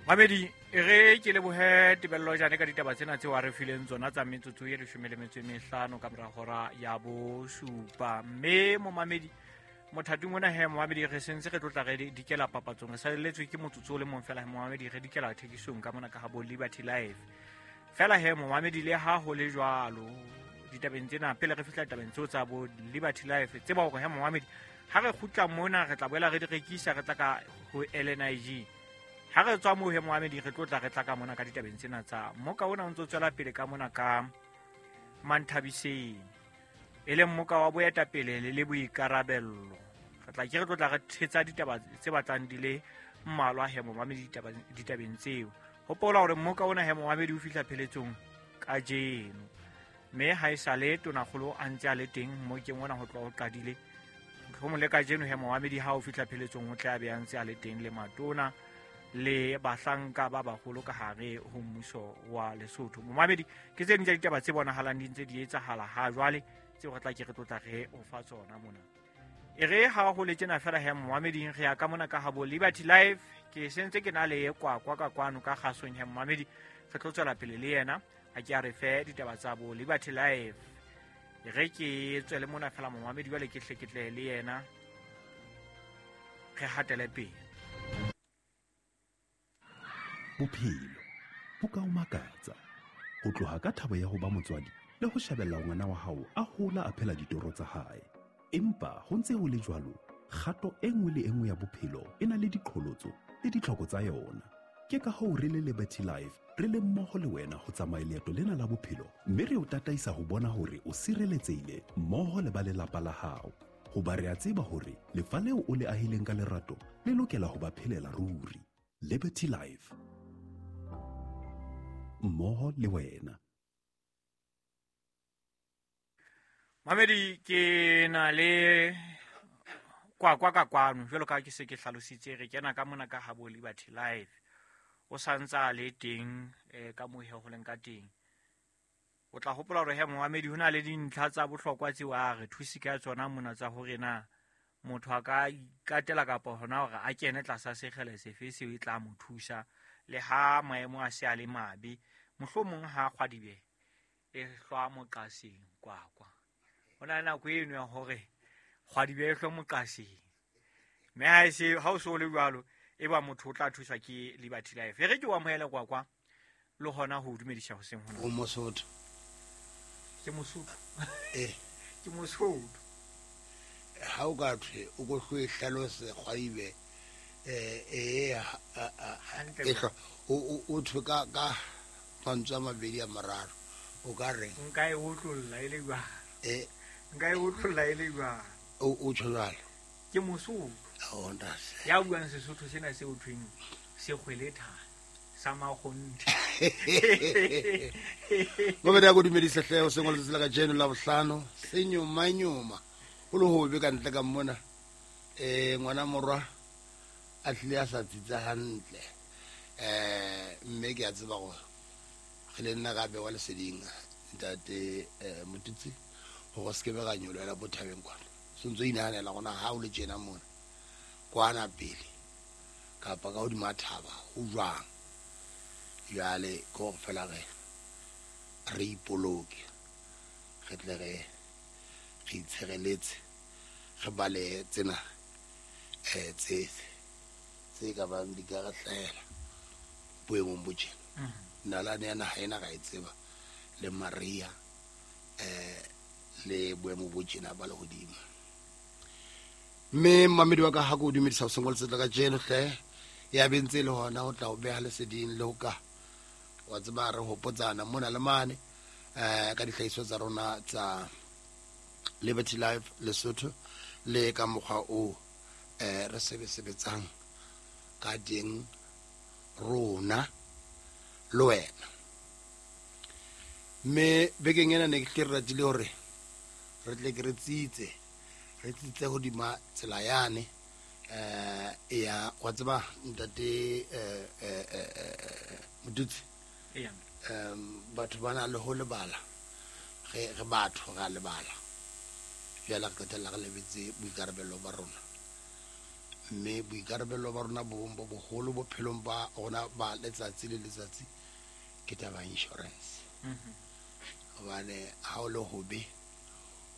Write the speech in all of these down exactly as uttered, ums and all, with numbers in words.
Mamedi e re ke lebohe Tebello Jane ka ditaba tsena tseo a re fileng tsona tsa metsotso e leshome le metso e mehlano ka mora hora ya bosupa. Mme momamedi mothating ona he momamedi re sentse re tlotla re dikela papatsong, re salelletswe ke motsotso o le mong fela he momamedi re dikela thekisong ka mona ka ha bo Liberty Life. Fela he momamedi le ha ho le jwalo ditabeng tsena pele re fihla ditabeng tseo tsa bo Liberty Life, tseba hore he momamedi ha re kgutla mona re tla boela re di rekisa, re tla ka ho L N I G. Ha re tswa moo he momamedi re tlotla re tla ka mona ka ditabeng tsena tsa moka ona o ntso tswela pele ka mona ka Manthabiseng, e leng moka wa boetapele le le boikarabello. Re tla ke re tlotla re thetsa ditaba tse batlang di le mmalwa he momamedi ditabeng tseo. Hopola hore moka ona he momamedi o fihla pheletsong kajeno, mme ha e sale tonakgolo a ntse a le teng mmokeng ona ho tloha ho qadile. Mohlomong le kajeno he momamedi ha o fihla pheletsong o tla be a ntse a le teng le matona le bahlanka ba baholo ka hare ho mmuso wa Lesotho. Momamedi ke tse ding tsa ditaba tse bonahalang di ntse di etsahala ha jwale tseo re tla ke re tlotla re o fa tsona mona. E re ha ho le tjena fela he momameding re ya ka mona ka habo Liberty Life. Ke sentse ke na le kwakwa ka kwano ka kgasong he momamedi, re tlo tswela pele le yena a ke a re fe ditaba tsa bo Liberty Life. E re ke tswele mona fela momamedi jwale ke hle ke tle le yena re hatele pele. Bophelo bo ka o makatsa ho tloha ka thabo ya ho ba motswadi le ho shebella ngwana wa hao a hola a phela ditoro tsa hae. Empa ho ntse ho le jwalo, kgato e nngwe le e nngwe ya bophelo e na le diqholotso le ditlhoko tsa yona. Ke ka hoo re le Liberty Life re le mmoho le wena ho tsamaya leeto lena la bophelo, mme re o tataisa ho bona hore o sireletsehile mmoho le ba lelapa la hao. Hoba re a tseba hore lefa leo o le ahileng ka lerato le lokela ho ba phelela ruri. Liberty Life, mmoho le wena. Mamedi ke na le kwakwa ka kwano jwalo ka ke se ke hlalositse, re kena ka mona ka habo Liberty Life. O santsa le teng eh, ka mohe ho leng ka teng. O tla hopola hore he momamedi ho na le dintlha tsa bohlokwa tseo a re thusi ka tsona mona tsa hore na motho a ka ikatela kapa hona hore a kene tlasa sekgele sefe seo e tla mo thusa le ha maemo a se a le mabe, mohlomong ha kgwadibe e hlwa moqaseng kwakwa. Ho na le nako eno ya hore kgwadibe e hlwe moqaseng, mme ha e se ha o so le jwalo e ba motho o tla thuswa ke Liberty Life. E re ke o amohele kwakwa le hona ho dumedisa hoseng hona. O Mosotho. Ke Mosotho. Eh. Ke Mosotho. Ha o ka thwe o ko hloe hlalose kgwadibe eh eh e hlo o o thwe ka ka mantswe a mabedi a mararo o ka reng? Nka e otlolla e le jwang? Eh. Nka e otlolla e le jwang? O o tjho jwalo. Ke Mosotho. Oh, ntate. Ya buang Sesotho sena se o thweng sekgwelethana sa makgonthe. Mo beda go dumedisa hle o sengwe letsatsi la kajeno la bohlano senyomanyoma ho le hobe ka ntle ka mona eh ngwana morwa a tlile a sa tsitsa hantle eh mme ke a tseba gore re le nna gape wa leseding ntate eh Motutsi gore se ke be ga nyolwela bo thabeng kwana so ntse inahanela gona ha o le tjena mona kwana pele kapa ka hodima thaba ho jwang. Jwale ke hore fela re re ipoloke re tle re re itshireletse re balehe tsena eh tse tse ka bang di ka re hlahela boemong bo tjena. Nalane ya naha ena ra e tseba le Maria eh le boemo bo tjena ba lehodimo. Mme mamedi wa ka ha ko dumedisa ho sengwe letsatsi la kajeno hle ya bentse le hona ho tla o beha leseding le ho ka wa tseba re hopotsana mona le mane eh ka dihlahiso tsa rona tsa Liberty Life Lesotho le ka mokgwa o eh re sebesebetsang ka teng rona le wena. Mme bekeng ena ne ke tle re ratile hore re tle ke re tsitse re tsitse hodima tsela yane eh ya wa tseba ntate eh eh Motutsi Eya. Um batho ba na le ho lebala re re batho ra lebala jwale re qetella re lebetse boikarabelo ba rona. Mme boikarabelo ba rona bo bong bo boholo bophelong ba rona ba letsatsi le letsatsi ke taba ya insurance. Hobane ha o le hobe,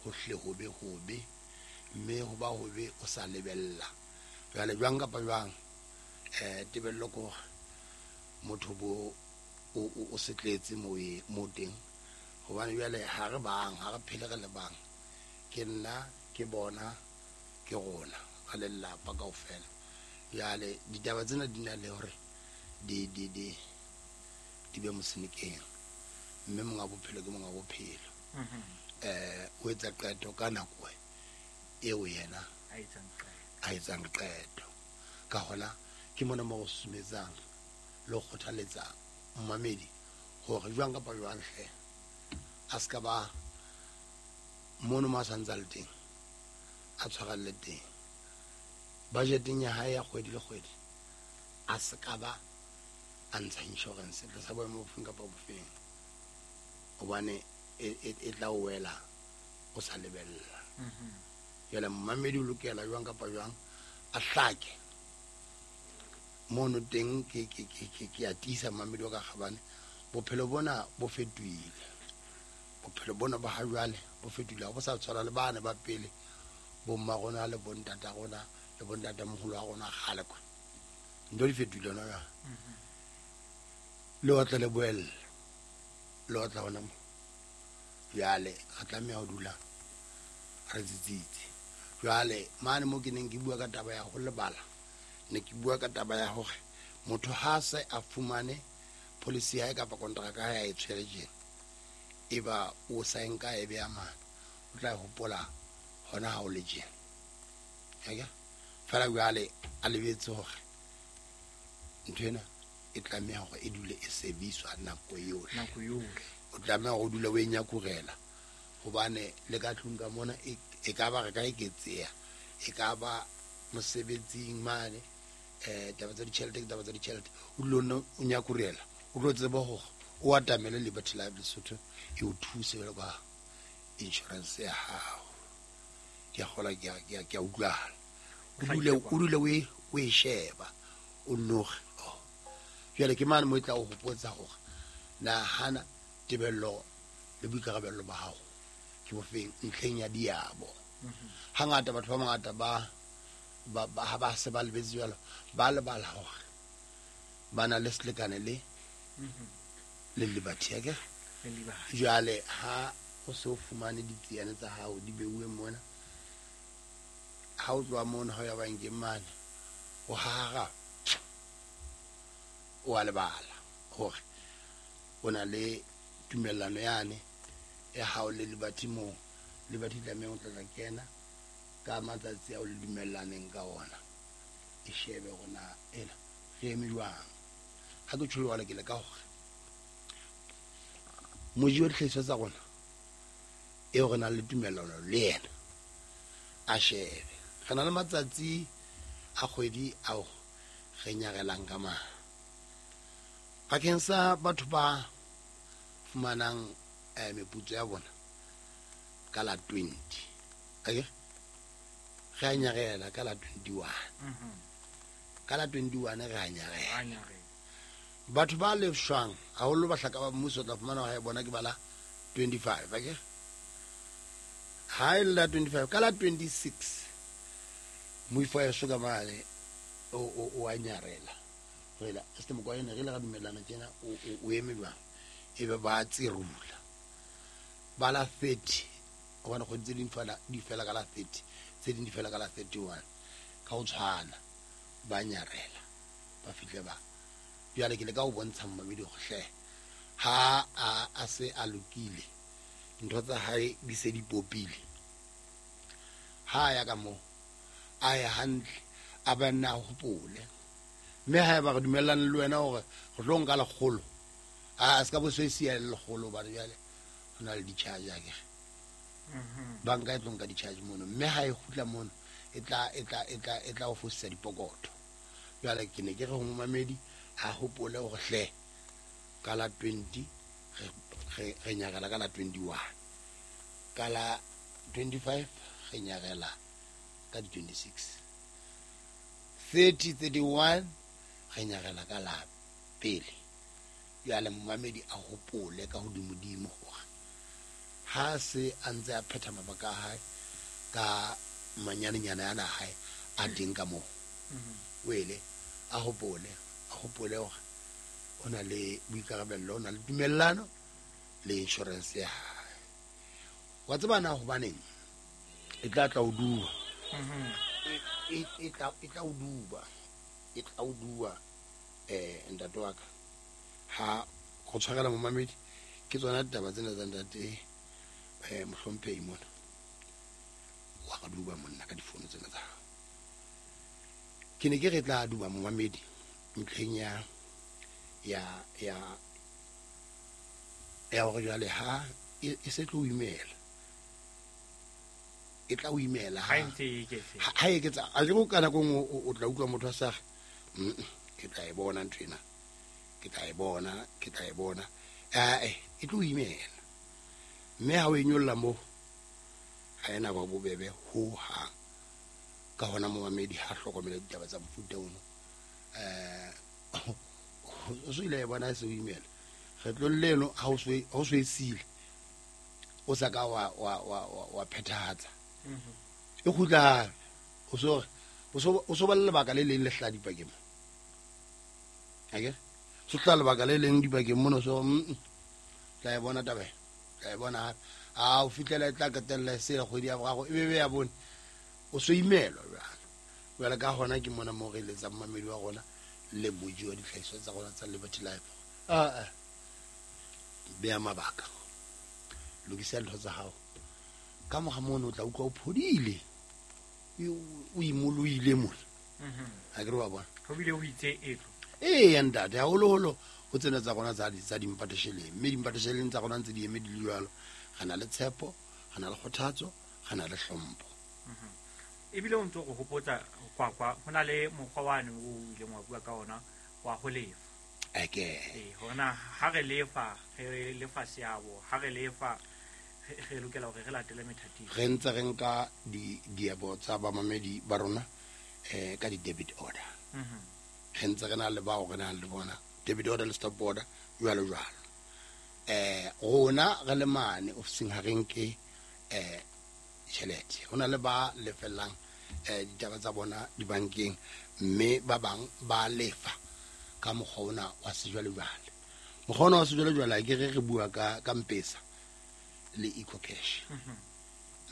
ho hle hobe hobe, mme ho ba hobe o sa lebella. Jwale jwang kapa jwang, eh tebello ke hore motho bo o o setletse mo e mo teng. Hobane jwale ha re bang, ha re phele re le bang. Ke nna, ke bona, ke rona, re le lelapa kaofela. Jwale ditaba tsena di na le hore di di di di be mosenekeng. Mme monga bophelo ke monga bophelo. Eh o etsa qeto ka nako eo yena a etsang qeto. A etsang qeto. Ka hona ke mona mo go sumetsang le go kgothaletsa mmamedi hore jwang kapa jwang hle a ska ba mono mo a santsa le teng, a tshwarelle teng. Budgeteng ya hae ya kgwedi le kgwedi a se ka ba a ntsha insurance tlasa boemo bofeng kapa bofeng, hobane e e tla o wela o sa lebella. Jwale mmamedi o lokela jwang kapa jwang a hlake mono teng. Ke ke ke ke ke a tiisa mmamedi wa ka kgabane, bophelo bona bo fetohile. Bophelo bona ba ha jwale bo fetohile, ha bo sa tshwana le bana ba pele, bo mma rona le bo ntata rona le bo ntatamoholo wa rona kgale kwa. Ntho di fetohile hona jwale. Le otla le boella, le otla hona mo. Jwale re tlameha ho dula re tsitsitse. Jwale mane mo ke neng ke bua ka taba ya ho lebala, ne ke bua ka taba ya hore motho ha se a fumane policy ya hae kapa kontraka ya hae e tshwere tjena, eba o sa nka e beya mane, o tla hopola hona ha o le tjena. Akere fela jwale a lebetse hore ntho ena e tlameha hore e dule e sebediswa nako yohle. Nako yohle. O tlameha hore o dule o e nyakurela, hobane le ka tlung ka mona e e ka ba re ka eketseha, e ka ba mosebetsing mane, eh taba tsa ditjhelete ke taba tsa ditjhelete. O dule o nno o nyakurela, o tlo tseba hore o atamele Liberty Life Lesotho e o thuse jwalo ka insurance ya hao. Ke a kgolwa ke a, ke a, ke a utlwahala. O dule, o dule o e, o e sheba, o noge. Oh. Jwale ke mane mo e tla o hopotsa hore nahana tebello le boikarabello ba hao ke bofeng ntlheng ya diabo. Hangata batho ba bangata ba, ba, ba, ha ba se ba lebetse jwalo, ba lebala hore ba na le selekane le le Liberty, akere? Le Liberty. Jwale ha o se o fumane ditsiane tsa hao di beuwe mona, ha o tloha mono ha o ya bankeng mane, o hara o a lebala hore o na le tumellano yane ya hao le Liberty moo. Liberty tlameha ho tla tla kena ka matsatsi ao le dumellaneng ka ona, e shebe hore na ena re eme jwang. Ha ke tjho jwalo ke le ka hore moji wa dihlahiswa tsa rona eo re nang le tumellano le yena a shebe. Re na le matsatsi a kgwedi ao re nyarelang ka mang. Bakeng sa batho ba fumanang, eh, meputso ya bona ka la twenty, akere? Re a nyarela ka la twenty-one. Ka la twenty-one re a nyarela. A nyarela. Batho ba lefshwang haholo bahlaka ba mmuso tla fumana hore bona ke ba la twenty-five, akere? Ha e le la twenty-five, ka la twenty-six moifo wa heso ka mane o, o, o a nyarela. Re la, este Mokoena, re le ra dumellana tjena, o, o, o eme jwang? Ebe ba tserula. Ba la thirty, hobane kgwedi tse ding fela, di fela ka la thirty, tse ding di fela ka la thirty-one. Ka ho tshwana, ba nyarela, ba fihle ba. Jwale ke leka ho bontsha mmamedi hore hle, ha a, a se a lokile, ntho tsa hae di se di popile. Ha a ya ka moo, a ye hantle, a ba nna a hopole. Mme ha eba re dumellane le wena hore re tlo nka lekgolo, a se ka bo se siya le lekgolo, hobane jwale ho na le di-charge akere. Banka e tlo nka di-charge mono, mme ha e kgutla mono, e tla, e tla, e tla, e tla o fosisa dipokotho. Jwale ke ne ke re ho momamedi a hopole hore hle ka la twenty re, re, re nyarela ka la twenty-one, ka la twenty-five re nyarela ka di twenty-six. thirty thirty-one re nyarela ka la pele. Jwale momamedi a hopole ka hodimodimo hore ha se a ntse a phetha mabaka a hae ka manyanenyana ana hae a teng ka moo. Wele a hopole a hopole hore o na le boikarabello, o na le tumellano le insurance ya hae. Wa tseba na hobaneng e tla tla o duba. E e tla e tla o duba. E tla o duba eh ntate wa ka. Ha go tshwarela momamedi ke tsona ditaba tsena tsa ntate eh mohlomphehi mona. Wa re duba monna ka difono tsena tsa hao. Ke ne ke re tla duba momamedi ntlheng ya ya ya ya hore jwale ha e se tlo imela. E tla o imela ha ntse e eketse. Ha e eketsa a ke go kana go o tla utlwa motho a sa re ke tla e bona ntho ena. Ke tla e bona, ke tla e bona. Eh e tlo imela. Mme ha o e nyolla mo ha ena ba bobebe ho hang. Ka hona momamedi ha hlokomela ditaba tsa mofuta ono. Eh o so ile bona se o imela. Kgetlong leno ha o so ha o so e sile. O sa ka wa wa wa wa phethahatsa. E kgutla o so o so o so ba le lebaka le leng le hla dipakeng. Akere so tla lebaka le leng dipakeng mono so tla e bona taba tla e bona a o fitlela e tla qetella se le kgwedi ya boraro e bebe ya bone o so imelwa jwale. Jwale ka hona ke mona mo re eletsang mamedi wa rona le moji wa ditlhahiso tsa rona tsa Liberty Life. Ah beya mabaka, lokisa dintho tsa hao. Ka mora mono o tla utlwa o phodile, o imolohile mona. Akere wa bona ho bile ho itse etlo. Ee ntate, haholoholo ho tsena tsa rona tsa tsa dimpatesheleng, mme dimpatesheleng tsa rona ntse di eme di le jwalo. Re na le tshepo, re na le kgothatso, re na le hlompho. Ebile o ntso go hopotsa kwa kwa ho na le mokgwa wane o ileng wa bua ka ona wa ho lefa. Eke. Eh hona ha re lefa, re lefa seabo, ha re lefa re lokela hore re latele methati. Re ntse re nka di diabo tsa bamamedi ba rona eh ka di debit order. Mhm. Re ntse re na le bao re nang le bona debit order le stop order jwalo jwalo. Eh rona re le mane ofising ha re nke eh tjhelete. Ho na le ba lefellang eh ditaba tsa bona dibankeng, mme ba bang ba lefa ka mokgwa ona wa sejwalejwale. Mokgwa ona wa sejwalejwale ke re re bua ka ka M-Pesa le EcoCash.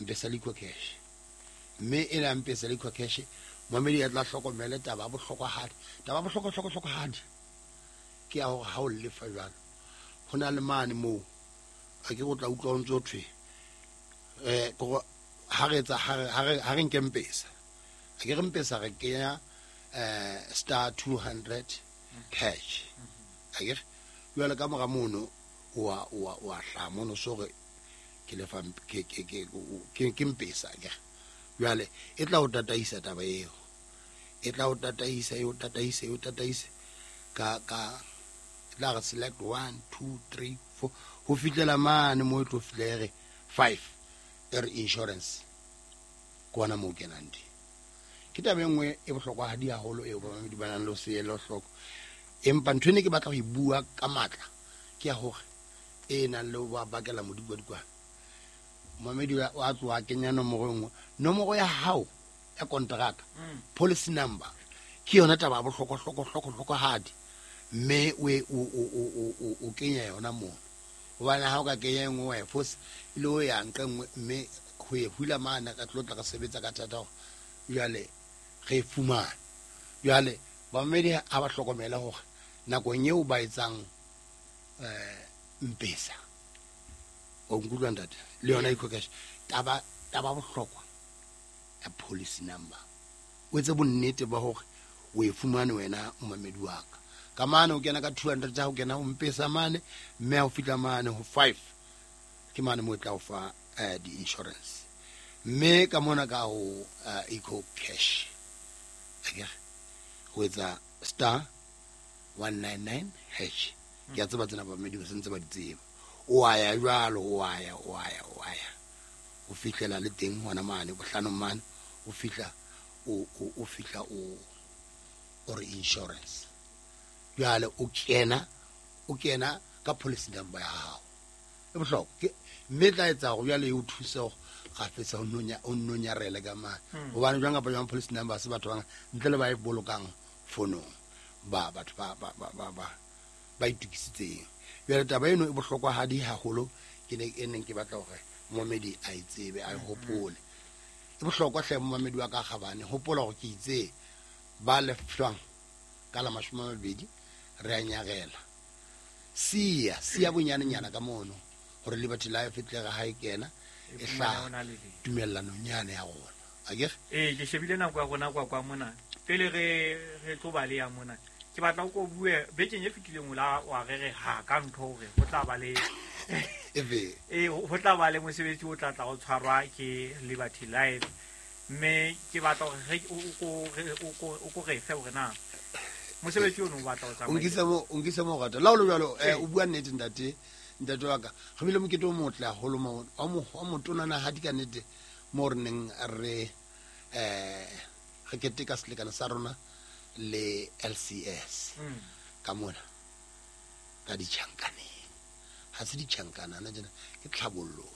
M-Pesa le EcoCash. Mme ena M-Pesa le EcoCash momedi ya tla hlokomele taba ya bohlokwahadi. Taba ya bohlokwa hlokwa hlokwahadi ke ya hore ha o lefa jwalo ho na le mane moo a ke go tla utlwa o ntse o thwe eh go ha re etsa ha re ha re nke M-Pesa. A ke re M-Pesa re kenya eh star two hundred cash. A ke jwale ka mora mono wa wa wa hla mono so re ke lefa ke ke ke ke M-Pesa ke. Jwale e tla o tataisa taba eo. E tla o tataisa e o tataise e o tataise ka ka tla re select one two three four ho fihlela mane mo e tlo fihlere five e re insurance kwana mo kenang di. Ke taba e nngwe e bohlokwahadi haholo eo bamamedi ba nang le ho se ele hloko. Empa ntho ene ke batla ho e bua ka matla ke ya hore e nang le ho ba bakela modikwadikwane. Momamedi wa tloha kenya nomoro e nngwe, nomoro ya hao ya kontraka, policy number ke yona taba ya bohlokwa hlokwa hlokwa hlokwahadi, mme o o o o kenya yona mono. Hobane ha o ka kenya e nngwe wa e fosa e le o ya nqa nngwe, mme ho e hula mane ka tlo tla ka sebetsa ka thata hore jwale re e fumane. Jwale bamamedi ha ba hlokomela hore nakong eo ba etsang eh M-Pesa o nkutlwa ntate le yona EcoCash, taba taba bohlokwa ya policy number o etse bonnete ba hore o e fumane wena momamedi wa ka. Ka mane o kena ka two hundred ha o kena ho M-Pesa mane, mme ha o fihla mane ho five ke mane mo tla o fa eh di insurance. Mme ka mona ka ho EcoCash akere ho etsa star one nine nine hash. Ke a tseba tsena bamamedi ba sentse ba di tseba. O a ya jwalo, o a ya, o a ya, o a ya o fihlela le teng hona mane bohlanong mane o fihla o o fihla o or insurance. Jwale o kena o kena ka policy number ya hao. E bohlokwa mme tla etsa go jwale e o thuse go gafetsa o nonya o nonyarele ka mane. Hobane jwang kapa jwang policy number se batho ba ntle le ba e bolokang fonong ba batho ba ba ba ba ba itukisitseng. Jwale taba eno e bohlokwa hadi haholo ke ne e neng ke batla hore momedi a e tsebe a e hopole. E bohlokwa hle momedi wa ka gabane hopola hore ke itse ba lefshwang ka la mashome a mabedi re a nyarela. Sia sia bonyanenyana ka mono hore Liberty Life e tle re ha e kena e hla tumellanong nyane ya rona. Akere? Eh ke shebile nako ya rona kwa kwa mona. Pele re re tlo ba le ya mona. Ke batla o ko bue bekeng e fetileng o la wa re re ha ka ntho hore ho tla ba le ebe eh ho tla ba le mosebetsi o tla tla o tshwarwa ke Liberty Life mme ke batla hore re o ko o ko re fe hore na mosebetsi ono o batla o tsamaya. O nkisa mo o nkisa mo rata. La o le jwalo o bua nnete ntate ntate wa ka. Re bile mokete o motle haholo mo wa mo wa motonana ha di ka nnete mo re neng re eh re keteka selekane sa rona le L C S ka mona ka ditjhankaneng. Ha se ditjhankana na jena ke tlhabollong.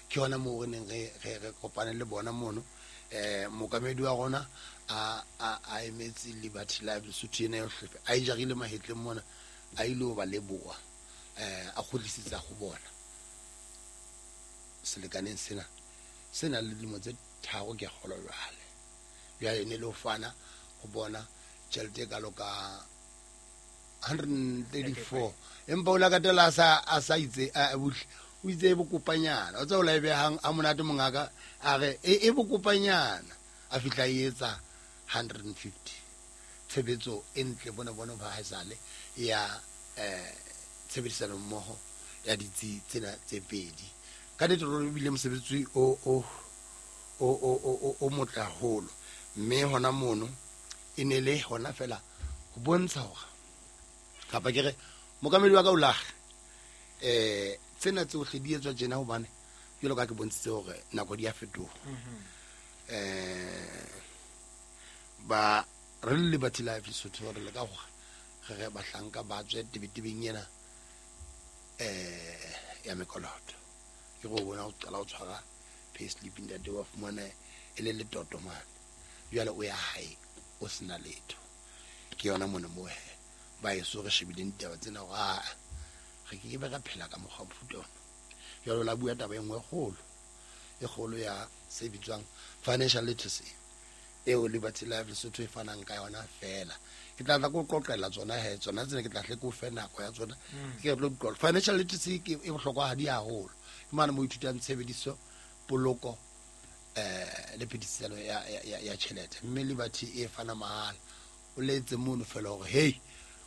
Ke yona moo re neng re re kopane le bona mono eh mokamedi wa rona a a a emetse Liberty Life Lesotho ena yohle a e jarile mahetleng mona a ile ho ba leboha eh a kgutlisetsa go bona selekaneng sena sena le dilemo tse tharo ke kgolo jwale. Jwale ne le ho fana go bona tjhelete e kalo ka one hundred thirty-four empa o la katela a sa a sa itse a buhle o itse e bokopanyana o tsa o la e behang a monate mongaka a re e e bokopanyana a fihla e etsa one hundred fifty. Tshebetso e ntle bona bona ba haesale ya eh tshebedisano mmoho ya ditsi tsena tse pedi. Ka nnete re bile mosebetsi o o o o o motle haholo mme hona mono e ne le hona fela ho bontsha hore kapa ke re mokamedi wa ka o lahle eh tsena tsohle di etswa tjena hobane jwalo ka ke bontshitse hore nako di a fetoha. Eh ba re le Liberty Life Lesotho re le ka hore re re bahlanka ba tswe tebetebeng ena eh ya mekoloto. Ke go bona o qala o tshwara payslip ntate wa fumana e le letoto mane. Jwale o ya hae o sena letho. Ke yona mona mo he ba eso re shebileng ditaba tsena hore a re ke be ra phela ka mokgwa mofuta ona. Jwale la bua taba e nngwe e kgolo e kgolo ya se bitswang financial literacy eo Liberty Life Lesotho e fanang ka yona fela. Ke tla tla go qoqela tsona he tsona tsena ke tla hle ke o fe nako ya tsona ke re tlo di qoqa. Financial literacy ke e bohlokwa hadi haholo. Ke mane mo ithutang tshebediso poloko eh le phedisano ya ya ya tjhelete mme Liberty e fana mahala. O letse mono fela hore hey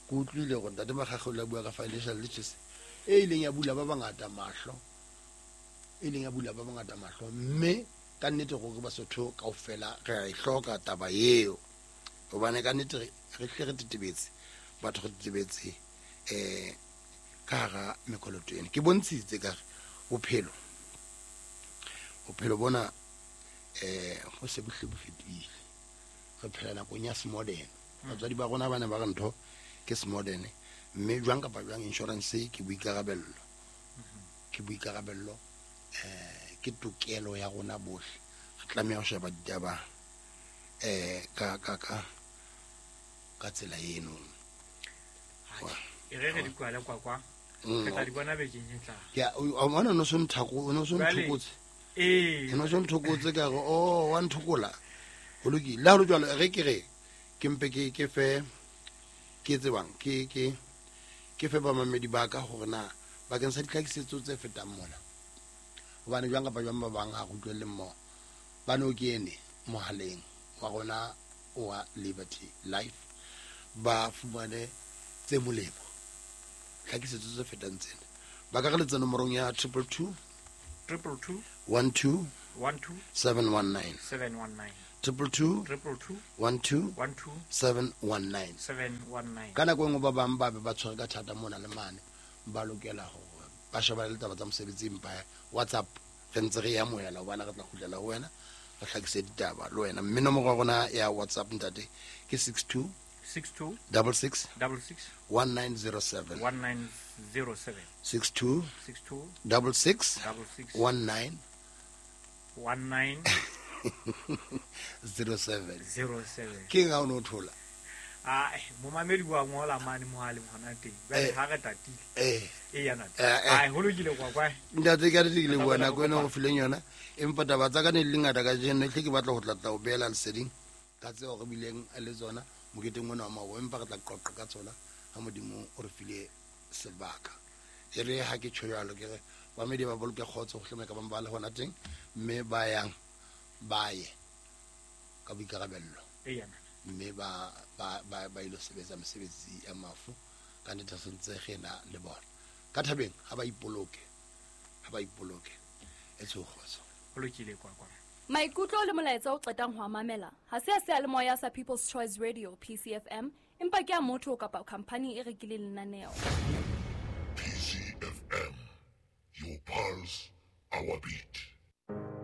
ke utlwile hore ntate Makgakge o la bua ka financial literacy e ileng ya bula ba bangata mahlo e leng ya bula ba bangata mahlo mme ka nnete gore Basotho kaofela re a e hloka taba eo hobane ka nnete re hle re tetebetse batho re tetebetse eh ka hara mekoloto ena. Ke bontshitse ka re bophelo bophelo bona eh ho se bohle bo fetohile. Re phela nakong ya smodern. Batswadi ba rona ba ne ba re ntho ke smodern mme jwang kapa jwang insurance ke boikarabello ke boikarabello eh ke tokelo ya rona bohle. Re tlameha ho sheba ditaba eh ka ka ka ka tsela eno. E re re di kwale kwa kwa re tla di bona bekeng e tlang. Ke a bona no so nthako no so nthokotse. Eh no so nthokotse ka re oh wa nthokola. Ho lokile. Le ha ho le jwalo re ke re ke mpe ke ke fe ke tsebang ke ke ke fe ba mamedi ba ka hore na bakeng sa ditlhakisetso tse fetang mona. Hobane jwang kapa jwang ba bang ha re utlwelle mmoho ba no kene mohaleng wa rona wa Liberty Life ba fumane tse molemo tlhakisetso tse fetang tsena. Ba ka re letsa nomorong ya triple two triple two one two one two seven one nine seven one nine triple two triple two one two one two seven one nine seven one nine. Ka nako e nngwe ba bang ba be ba tshwere ka thata mona le mane ba lokela hore ba shebane le taba tsa mosebetsi empa WhatsApp re ntse re e amohela hobane re tla kgutlela ho wena re hlakise ditaba le wena. Mme nomoro ya rona ya WhatsApp ntate ke six two Six two double six double six one nine zero seven one nine zero seven six two six two double six double six one nine one nine zero seven zero seven. Ke eng ha o no thola? Ah, momamedi wa ngola mane mohaleng hona teng. Jwale Eh. ha re tatile. Eh. E ya ntate. Eh, eh. Ai, ho lokile kwa kwa. Ntate, ke a ke leboha Re tla nako ena go fileng yona, empa taba tsa ka ne di le ngata kajeno, ehlile ke batla ho tla tla o beela leseding ka tseo re bileng le tsona moketeng ona wa maoba, empa re tla qoqa ka tsona ha Modimo o re file sebaka. E re ha ke tjho jwalo, ke re bamedi ba boloke kgotso hohle moo e ka bang ba le hona teng, mme ba yang ba ye ka boikarabello, E ya ntate. mme ba ba ba ba ilo sebetsa mesebetsi ya mafu ka nnete, re sentse re na le bona ka thabeng. Ha ba ipoloke, ha ba ipoloke, e tsho kgotso. Ho lokile kwa kwa. Maikutlo le molaetsa o qetang ho a mamela ha se a seyalemoya sa People's Choice Radio P C F M, empa ke a motho kapa khampani e rekileng lenaneo. P C F M, your pulse, our beat.